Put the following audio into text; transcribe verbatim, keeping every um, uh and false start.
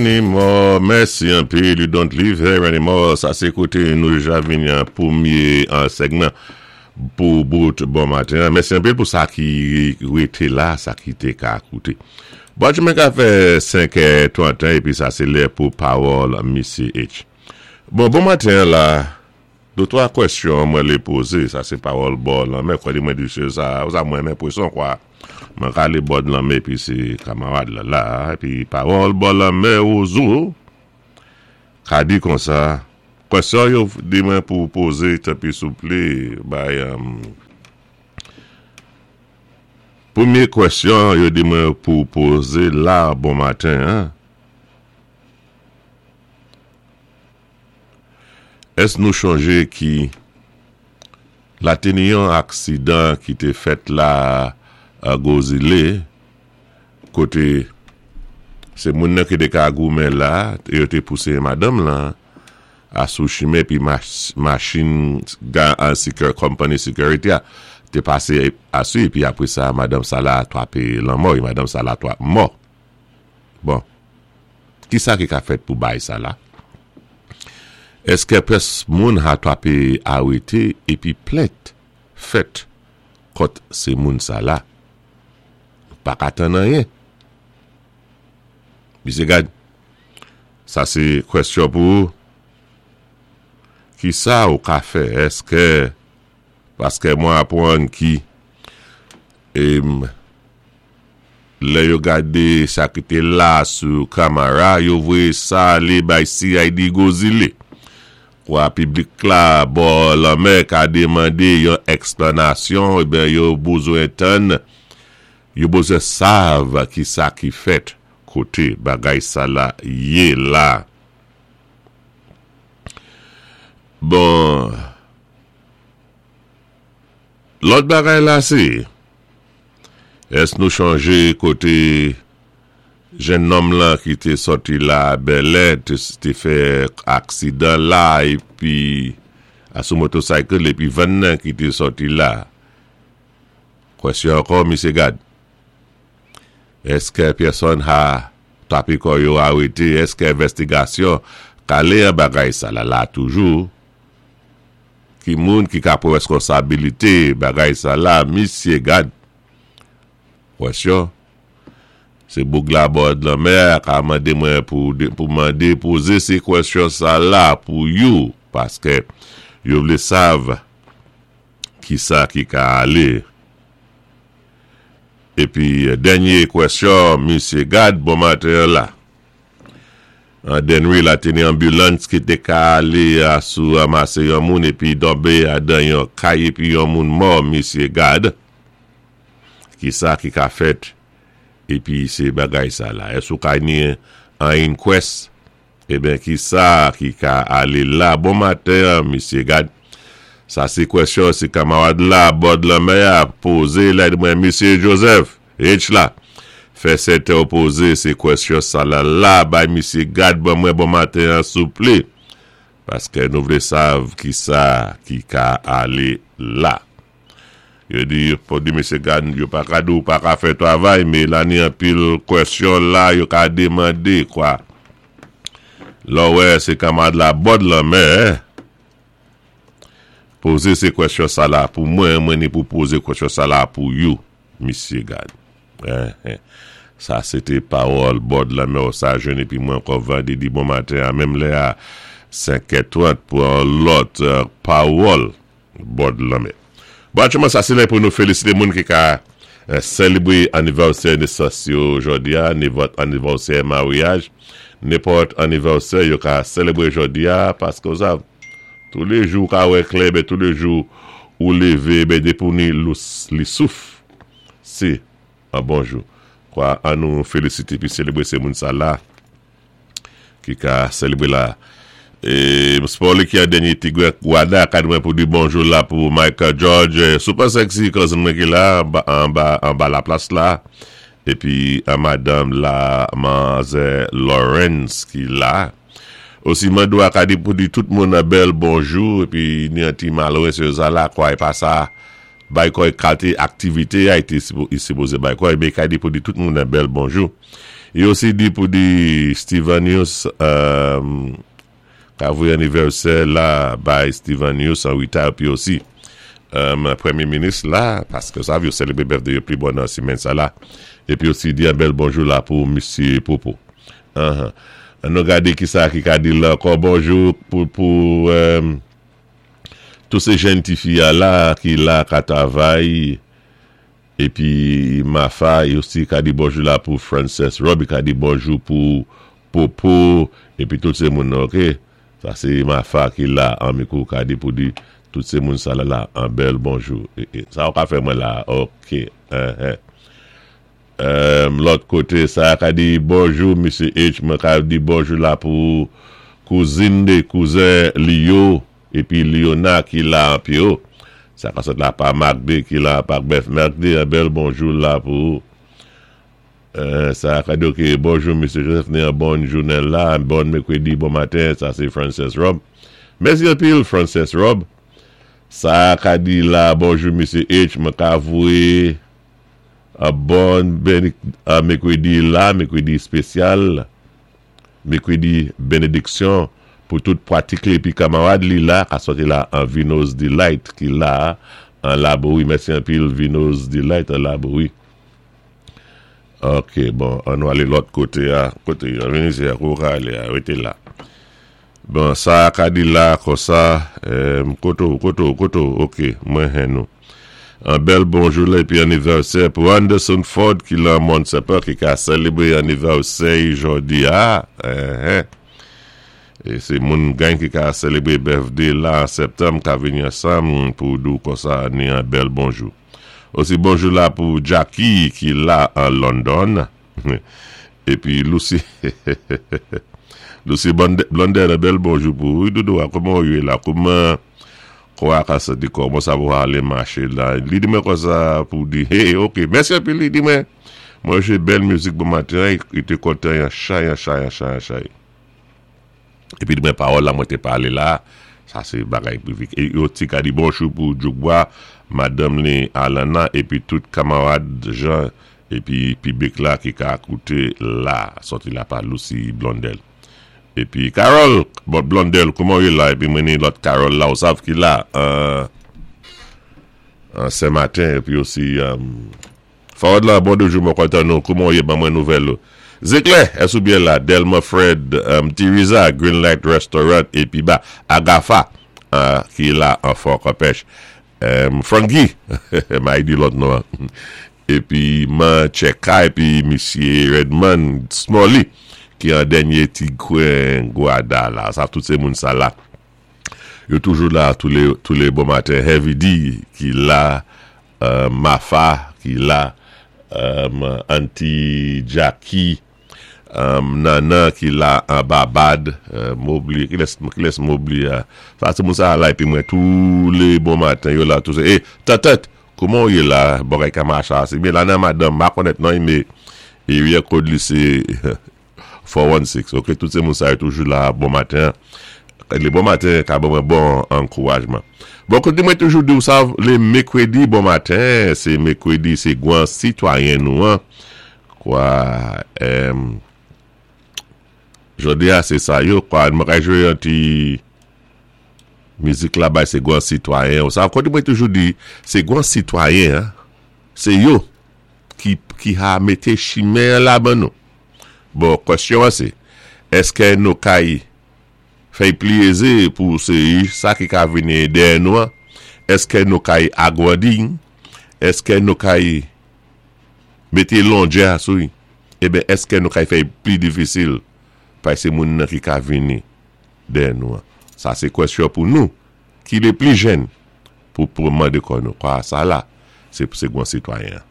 Anymore, mèsi anpil, you don't live here anymore. Sa sé koté nou ja vini an pwémyé an segman pou bout bon maten. Mèsi anpil pou sa ki rété la, sa ki té ka kouté. Bon, mwen ka fè senk trant épi sa sé lè pou pawòl Missy H. Bon, bon maten la, dé twa kwèsyon mwen lé pozé, sa sé pawòl bò lanmè, kwa di mwen di se sa, sa mwen men pwéson kwa. Mwen ka alé bò lanmè épi sé kamarad la la, épi pawòl bò lanmè ouzou, ka di kon sa, kwèsyon yo di mwen pou pozé, tanpwi souplé, bay, um, pwémyé kwèsyon yo di mwen pou pozé la bon maten, hein? Ès nou chonjé ki la té ni yon aksidan ki té fèt la a Gozilé, koté sé moun nan ki té ka goumen la, yo té pousé madanm lan a sou chimen pi machin ga an secure, company security a té pasé asou épi apwé sa madanm sa la twapé lanmò, é madanm sa la twap mò. Bon, ki sa ki ka fèt pou bay sa la? Èskè pyès moun ha twapé arété épi plent fèt kont sé moun sa la? Pa ka tann anyen. Misye gad, sa sé kwèsyon pou ou. Ki sa ou ka fè? Èskè, paskè mwen apwann ki em, lè yo gadé sa ki té la sou kamera, yo voyé sa alé bay C I D Gozilé. Kwa piblik la bò lanmè ka démandé yon èksplanasyon, eben yo bezwen tann, yo bezwen sav ki sa ki fèt koté bagay sa la yé la. Bon, lòt bagay la sé, ès nou chonjé koté jenn nonm lan ki té sòti la Bèlè, té, té fè aksidan la épi a sou motocycle épi van nan ki té sòti la. Kwèsyon ankò, misye gad. Èskè pèsòn ha twapé kò yo arété? Èskè envèstigasyon ka alé an bagay sa la la toujou? Ki moun ki ka pwan wèskonsabilité bagay sa la, misye gad? Kwèsyon. Sé boug la bò lanmè ka mandé mwen pou, pou mandé pozé sé kwèsyon sa la pou you, paskè yo vlé sav ki sa ki ka alé. Épi, dènyé kwèsyon, misye gad, bon maten la. An Denry la té ni ambulance ki té ka alé a sou ramasé yon moun épi tonbé adan yon kay épi yon moun mò, misye gad. Ki sa ki ka fèt épi sé bagay sa la. Ès ou ka ni an inquest, eben ki sa ki ka alé la. Bon maten, misye gad. Sa sé kwèsyon, sé kamarad la, bò lanmè a pozé la mwen, misye Joseph, H la. Fè sèten ou pozé sé kwèsyon sa la la, bay misye gad ban mwen bon maten souplé. Paskè nou vlé sav ki sa ki ka alé la. Yo di, pou di misye gad, yo pa ka di ou pa ka fè travay, mé la ni anpil kwèsyon la, yo ka démandé, kwa. Lò wè, sé kamarad la bò lanmè, pozé sé kwèsyon sa la pou mwen, mwen ni pou pozé kwèsyon sa la pou you, misye gad. Eh, eh. Sa sé té pawòl bò lanmè ou sa jwenn épi mwen ankò vandrédi bon maten a menm lè a senk è trant pou an lòt euh, pawòl bò lanmè. Bon, aktyèlman sa sé lè pou nou félisité moun ki ka euh, sélébré anivèsè nésans yo jòdi a, nenpòt anivèsè maryaj, nenpòt anivèsè yo ka sélébré jòdi a, paské ou sav, tou lé jou ka wè klè, ben tou lé jou ou lévé, ben dépi ou ni lous, li souf, sé an bon jou. Kwa, an nou félisité pi sélébré sé moun sa la, ki ka sélébré la. É Sport ki an dènyé Tigre Guada, ka mwen pou di bonjou la pou Michael George, super sexy cousin mwen ki la, anba, anba, anba la plas la. Épi an madanm la, manzè Lawrence ki la. Osi Mando a ka di pou di tout moun an bèl bonjou, épi ni an ti malwè se sa la, kwa é pa sa, bay kò'y kalté aktivité a été sipozé bay kò'y, mé ka di pou di tout moun an bèl bonjou. I osi di pou di Stevenius ka voyé anivèsè la bay Stevenius an wita épi osi Pwémyé Minis la, paské sa yo sélébwé birthday yo pli bon nan simenn sa la. Épi osi di an bèl bonjou la pou Misye Popo. An nou gadé ki sa ki ka di la ankò bonjou pou pou tout sé jenn ti fi a la ki la ka travay épi Mafa i osi ka di bonjou la pou Frances Rob, i ka di bonjou pou Popo épi tout sé moun nan, ok? Sa sé Mafa ki la an mikou ka di pou di tout sé moun sa la la an bèl bonjou. Sa ou ka fè mwen la, ok. Lòt koté sa ka di bonjou Misye H, mwen ka di bonjou la pou kouzin de kouzen Lio épi Liona ki la an pyo. Sa ka sot la pa Magde ki la pa Beth Magde, an bèl bonjou la pou sa ka di ok, bonjou Misye Joseph, ni an bon jounen la, an bon mékwédi, bon maten, sa sé Frances Rob. Mèsi anpil Frances Rob. Sa ka di la, bonjou Misye H, mwen ka voyé an bon mékwédi la, mékwédi spésyal, mékwédi bénédiksyon pou tout pratik li épi kamarad li la, ka soti la an Vino's Delight ki la, an Laboui. Mèsi anpil Vino's Delight an Laboui. Ok, bon, an nou alé lòt koté a, koté, an vini sé a, kou ka alé a, wété la. Bon, sa ka di la, konsa, koto, koto, koto, ok, mwen hen nou. An bèl bonjou la, épi anivèsè pou Anderson Ford ki la Mont Sepa, ki ka sélébwé anivèsè jòdi a. É sé moun gen ki ka sélébwé birthday la an septanm, ka vini ansanm pou dou konsa ni an bèl bonjou. Osi bonjou la pou Jackie ki la an London. Épi Lucy Lucy Blondel, an bèl bonjou pou ou. Doudou, kouman ou yé la? Kouman kwa ka sa di kouman sa pou alé maché la? Li di mwen konsa pou di, hey, ok, mèsi anpil li di mwen. Mwen jwé bèl mizik bon maten, i té kontan yon chay, yon chay, yon chay, yon chay. Épi di mwen pawòl la mwen té palé la, sa sé bagay privé. É yo ti ka di bonjou pou Djoukbois, madanm li Alana, épi tout kamarad Jean, épi piblik la ki ka kouté la, soti la pa Lucy Blondel. Épi Carol, bon Blondel, kouman ou la? Épi mwen ni lòt Carol la, ou sav ki la, an sé maten, épi osi, Fawad la, bon bonjou, mwen kontan nou, kouman ou yé, ban mwen nouvèl ou. Zéklè, ès ou byen la, Delma Fred, Tiriza, Green Light Restaurant, épi ba, Agafa, ki la an Fort-Campêche. Frankie, ma di lòt non. Épi man Cheka, épi Misye Redman Smalley, ki an dènyé ti kwen Guada la. Sa tout sé moun sa la. Yo toujou la tous les, tous les bon maten. Heavy D ki la, Mafa ki la, Auntie Jackie, Nana ki la an Babad, m'oubli, ki lès m'oubli, sa sé moun sa la, épi mwen tous les bon maten yo la, tout sé, eh, tatat, kouman ou yé la, bagay ka macha, sé byen la nan madanm, ma konèt nan, mé, area code li sé four one six, ok, tout sé moun sa yo toujou la, bon maten, le bon maten, ka bon bon ankourajman. Bon, koté mwen toujou di ou sa, le mékwédi bon maten, sé mékwédi, sé gwan sitwayen nou an, kwa, jodi a sé sa yo, kwa, mwen ka jwé yon ti mizik la bay sé gwan sitwayen, ou sa, koté mwen toujou di, sé gwan sitwayen, sé yo ki, ki ha mété chimen la ban nou. Bon, kwèsyon an sé, èské nou kay fè pli pou sé sa ki ka vini dèyè nou an? Èské nou kay agrandi? Èské nou kay mété longè sou? Eben, èské nou kay fè pli difisil pa sé moun nan ki ka vini dèyè nou an? Sa sé kwèsyon pou nou ki lé pli jèn pou pou mandé kò nou. Kwa sa la, sé sé gwan sitwayen.